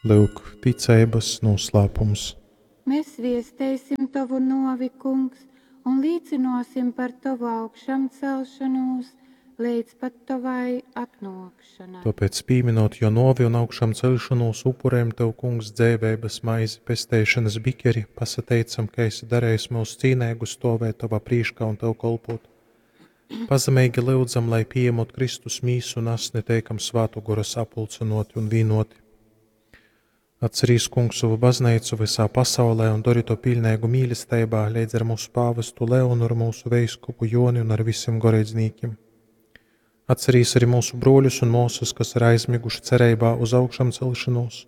Lyuk, ticeibas nūslāpums. Mēs viesteisim tovu nuovi, Kungs, un līcynuosim par tovu augšamcelšonūs leidz pat tovai atnuokšonai. Tōpēc, pīminot jō nōvi un augšamceļšonūs, upurējam Tev, Kungs, dzeiveibas maizi, pesteišonas bikeri, pasateicam, ka esi darejis myus cīneigus stōvēt Tovā prīškā un Tev kolpōt. Pazemeigi lyudzam, lai pījemot Kristus mīsu un asni, teikam Svātō Gora sapulcynōti un vīnōti. Atcerīs, Kungs, sovu bazneicu vysā pasaulē un dori to piļneigu mīlesteibā leidz ar mūsu pāvestu Leonu, ar mūsu veiskupu Joni un ar visim goreidznīkim. Atcerīs arī mūsu brōļus un mōsas, kas ir aizmiguši cereibā uz augšamcelšanos,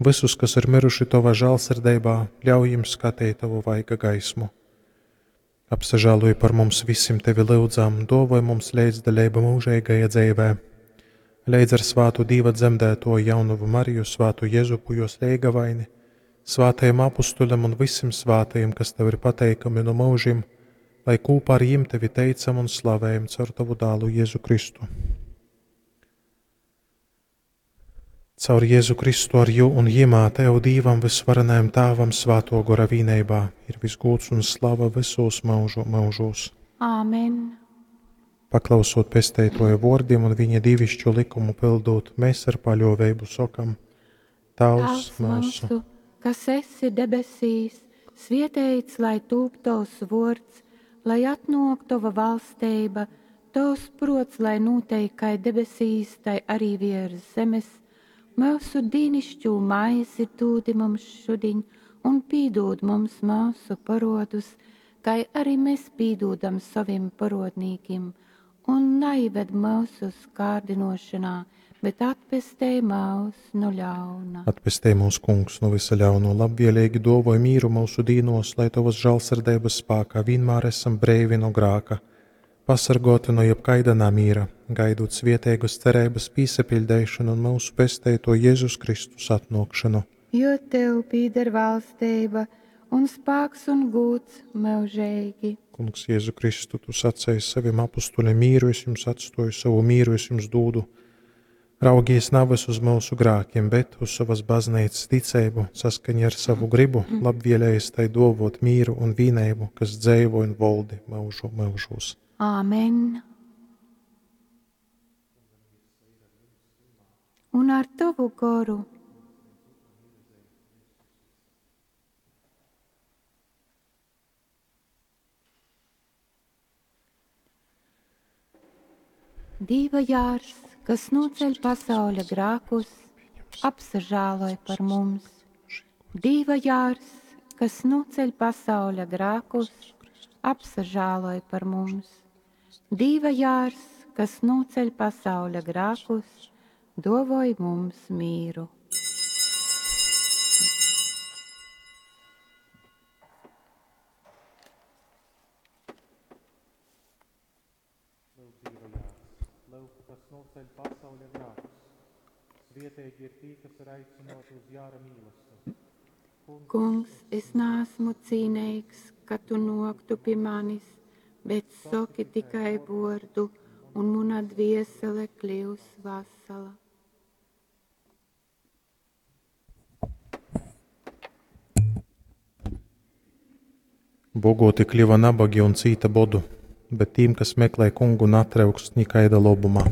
visus, kas ir miruši Tovā žālsirdeibā, ļauj jim skateit Tavu vaiga gaismu. Apsažāluj par mums visim Tevi lyudzam, dōvoj mums leidzdaleibu mūžeigajā dzeivē. Leidz ar svātu Dīva dzemdētoju jaunavu Mariju, svātu Jezupu jos leigavaini, svātajiem apustuļam un visim svātajiem, kas Tev ir pateikami no mūžim, lai kūpā ar jim Tevi teicam un slavējam caur Tavu dālu Jēzu Kristu. Caur Jēzu Kristu ar jū un jimā Tev Dīvam vysvarenajam Tāvam svāto gora vīneibā ir visgūds un slava visos mūžu mūžos. Āmen. Paklausot pesteitoja vōrdim un viņa dīvišķo likumu pildot, mēs ar paļōveibu sokam: Tavs Tēvs mūsu, kas esi debesīs, svietēts lai tūp tovs vords, lai atnok tova valsteiba, tovs prots, lai notiek kai debesīs, tai arī virs zemes. Mūsu dīnišķū maizi dūdi mums šudiņ, un pīdūd mums mūsu parodus, kai arī mēs pīdūdam saviem parodnīkim, un neived mūsu kārdinošanā, bet atpestej mūs no ļauna. Atpestej mūs, Kungs, no visa ļauno, labvēlīgi dovoj mīru mūsu dīnos, lai Tavas žālsirdības spākā vienmēr esam breivi no grāka, pasargoti no jebkaida namīra, gaidot svieteigas cerības pīsapiļdeišanu un mūsu pesteito Jēzus Kristus atnākšanu. Jo Tev pīder valstība un spāks un gūds mūžīgi. Kungs, Jēzu Kristu, Tu sacēji saviem apustuļiem mīru es jums atstoju, savu mīru es jums dūdu. Raugies navas uz mūsu grākiem, bet uz savas baznīcas ticību, saskaņā ar savu gribu, labvēlējies tai dovot mīru un vīneibu, kas dzeivo un voldi mūžu mūžos. Āmen. Un ar tavu goru. Dīva jārs, kas noceļ pasauļa grākus, apsažāloj par mums. Dīva jārs, kas noceļ pasauļa grākus, apsažāloj par mums. Dīva jārs, kas noceļ pasauļa grākus, dovoj mums mīru. Lūk, Dieva jārs, lūk, kas noceļ pasauļa grākus. Svietīgi ir tī, kas ir aicināti uz jāra mīlestību. Kungs, es neesmu cīnīgs, ka tu noktu pie manis, bet soki tikai vordu, un mana dviesele kļūs vasala. Bogoti kļuva nabagi un cīta bodu, bet tīm, kas meklē kungu, natryukst nikaida lobuma.